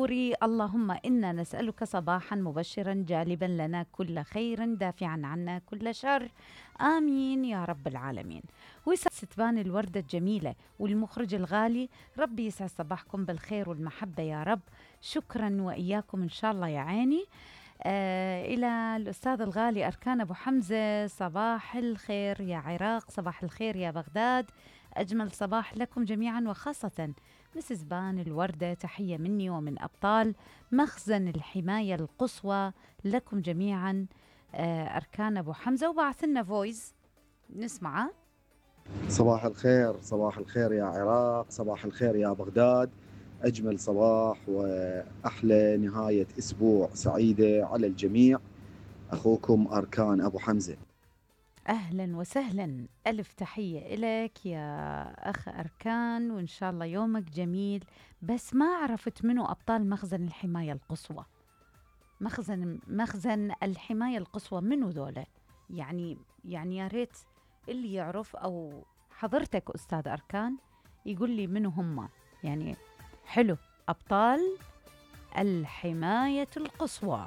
اللهم إنا نسألك صباحا مبشرا جالبا لنا كل خير دافعا عنا كل شر، آمين يا رب العالمين. ويسعد ستبان الوردة الجميلة والمخرج الغالي، ربي يسعد صباحكم بالخير والمحبة يا رب. شكرا وإياكم إن شاء الله يا عيني. إلى الأستاذ الغالي أركان أبو حمزة، صباح الخير يا عراق، صباح الخير يا بغداد، أجمل صباح لكم جميعا وخاصة مسز بان الوردة، تحية مني ومن أبطال مخزن الحماية القصوى لكم جميعا. أركان أبو حمزة، وبعث لنا فويس نسمعه. صباح الخير، صباح الخير يا عراق، صباح الخير يا بغداد، أجمل صباح وأحلى نهاية أسبوع سعيدة على الجميع. أخوكم أركان أبو حمزة. أهلا وسهلا، ألف تحية إليك يا أخ أركان، وإن شاء الله يومك جميل. بس ما عرفت منو أبطال مخزن الحماية القصوى. مخزن الحماية القصوى منو ذولا؟ يعني يا ريت اللي يعرف، أو حضرتك أستاذ أركان يقول لي منو هم. يعني حلو، أبطال الحماية القصوى.